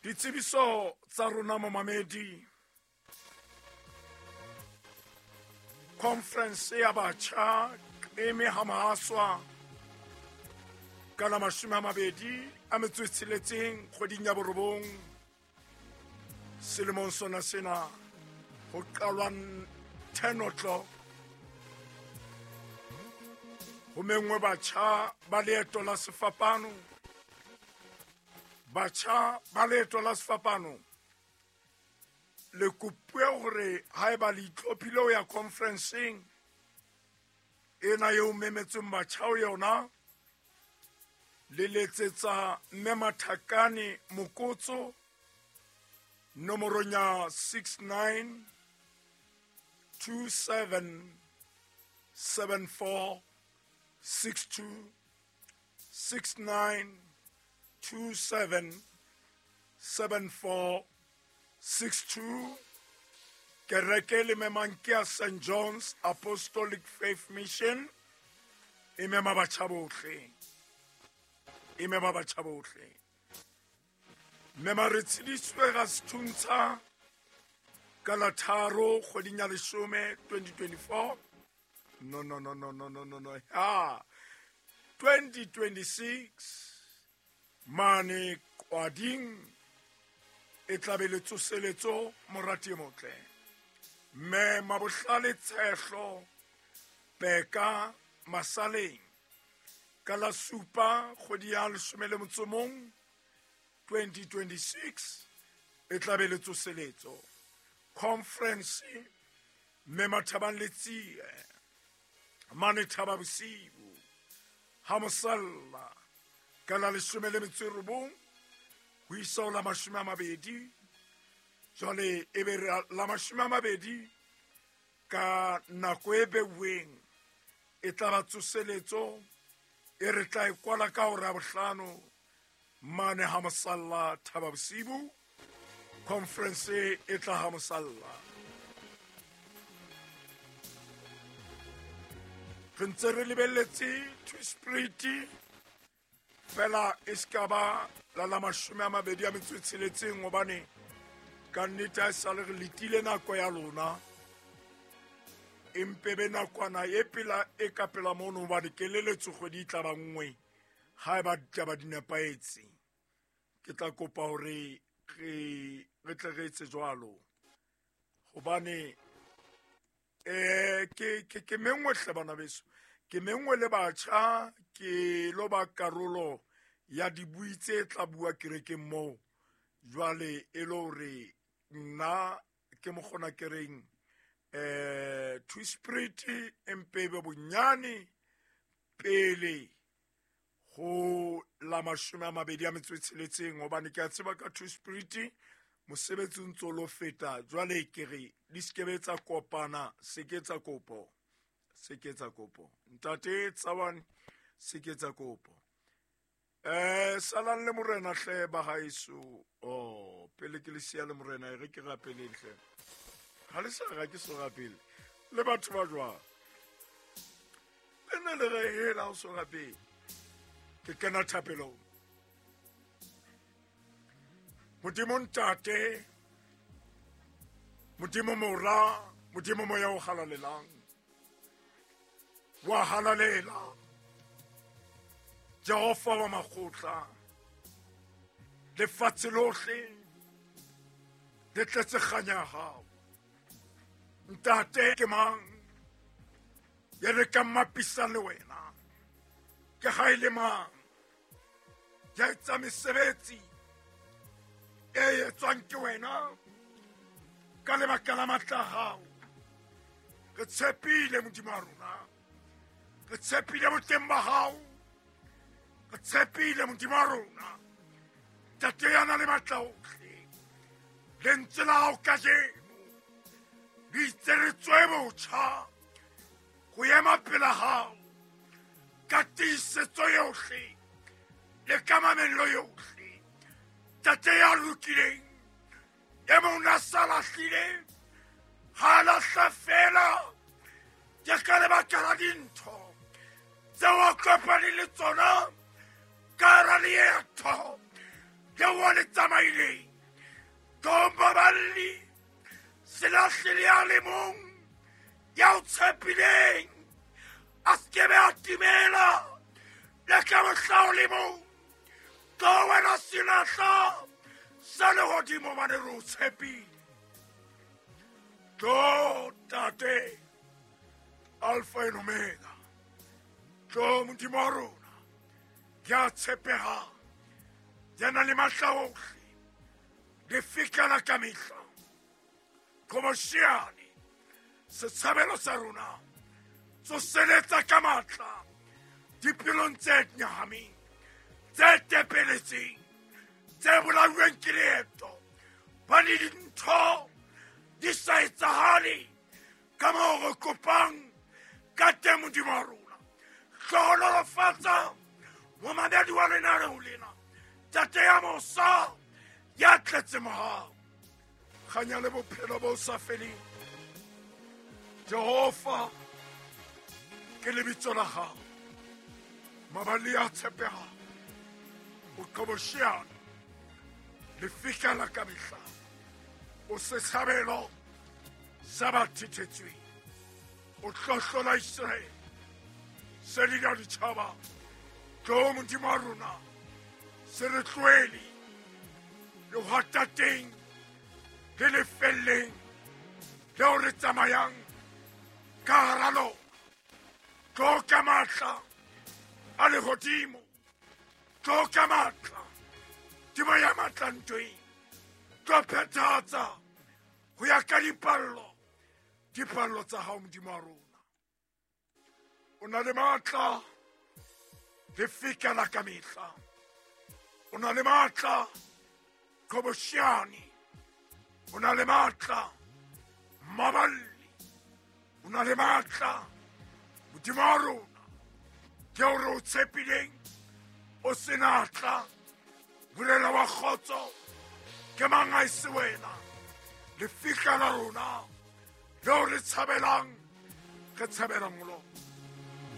Ditsebiso tsa rona momamedi. Conference ya batjha eme ha mahaswa ka la 26 kgweding ya 9 selemong sona sena ho qalwa 10 o'clock. Ho mengwe batjha ba leeto la sefapano. Batjha ba leeto la sefapano le kopuwe hore haeba le itlhophile ho ya conferenceng ena eo memetsweng batjha ho yona, le letsetsa mme Mathakane Mokotso nomorong ya 69 27 74 62 69 27 74 62. Kereke le memang ke ya St. John's Apostolic Faith Mission e mema batjha bohle. E mema batjha bohle. Mema re tshediswe ga Sethuntsha ka la 3 kgweding ya 10 2024. No no no no no no no no. Ha 2026 mane kwading e tlabe le tsoseletso morati e motle. Mme Mabohlale Tshehlo Peka Masaleng ka la 7 kgwedi ya 11 2026 e tlabe le tsoseletso. Conference mme Mathabang Letsie mane Thaba Bosiu ha mosalla ka la 19 ho isa ho la 20. Jwale e be la 20 ka nako e beuweng e tla ba tsoseletso e re tla e kwala ka hora ya 5 mane ha mosalla Thaba Bosiu. Conference e tla ha mosalla. Re ntse re lebelletse Tweespruit fela e ska ba la la 26 hobane ka nnete ha e sale re letile nako ya lona. Empe be nakwana e pela e ka pela mono hobane keleletso kgwedi e tla ba nngwe ha eba ditaba di nepahetse. Ke tla kopa hore re tle re etse jwalo hobane ke mengwe hle bana beso, ke mengwe le batjha, ke lo ba karolo ya dibui tse tla bua kerekeng moo. Jwale e le hore nna ke mokgona kereng Tweespruit empe be bonyane pele ho la 26 hobane ke a tseba ka Tweespruit mosebetsi o ntso lo feta. Jwale ke re di skebe tsa kopana, se ke tsa kopo, se ke tsa kopo ntate Tsawane, se ke tsa kopo. Salang le morena hle ba haeso. Oh, pele ke le siya le morena e re ke rapeleng hle. Ha le sa ra ke so rapele le batho ba jwang le ne le re hela o so rapele. Ke kena thapelong. Modimo Ntate, Modimo Mora, Modimo Moya o halalelang, wa halalela Jehova wa makgotla, lefatshe lohle le tletse kganya ya hao. Ntate ke mang ya re ka mmapisang le wena? Ke ha e le mang ya etsa mesebetsi e etswang ke wena ka lebaka la matla a hao? Re tshepile Modimo wa rona, re tshepile boteng ba hao, re tshepile Modimo wa rona. Ntate ya na le matla ohle, lentswe la hao kajeno le itse re tswe botjha ho ema pela hao ka tiisetso yohle le ka mamello yohle. Ntate ya lokileng, e mong a sa lahlile, ha a lahla fela ke ka lebaka la dintho tseo a kopaneng le tsona ka hara leeto leo a le tsamaileng. Tlo moballi, se lahle le a le mong ya o tshepileng, a se ke be a timela le ka mohla o le mong. Tlo wena senatla sa lehodimo, mane re o tshepile. Tlo Tate, Alpha and Omega. Tlo Modimo wa rona, ya tshepegang, ya nang le matla ohle, lefika la ka mehla, qhobosheane, setshabelo sa rona, tsoseletsa ka matla dipelong tse nyahameng, tse tepeletseng, tse bolauweng ke leeto, ba le dintho di sa etsahale ka moo re kopang ka teng. Modimo wa rona, hlohonolofatsa momamedi wa lenaneo lena, Tate ya mosa, ya tletse mohau, kganya le bophelo bo sa feleng. Jehova ke lebitso la hao, maballi a tshepegang, o qhobosheane, lefika la ka mehla, o setshabelo sa ba thethetsweng, o hlohlola Iseraele, sedi la ditjhaba. Tlo Modimo wa rona, se re tlohele lehwatateng le lefelleng leo re tsamayang ka hara lona. Tlo ka matla a lehodimo, tlo ka matla temo ya matla ntweng, tlo phethahatsa ho ya ka dipallo tsa hao. Modimo wa rona, o na le matla, lefika la ka mehla, o na le matla, qhobosheane, o na le matla, maballi, o na le matla. Modimo wa rona, ke o re o tshepileng, o senatla, morena wa kgotso, ke mang a e se wena, lefika la rona leo re tshabelang, re tshabelang ho lona.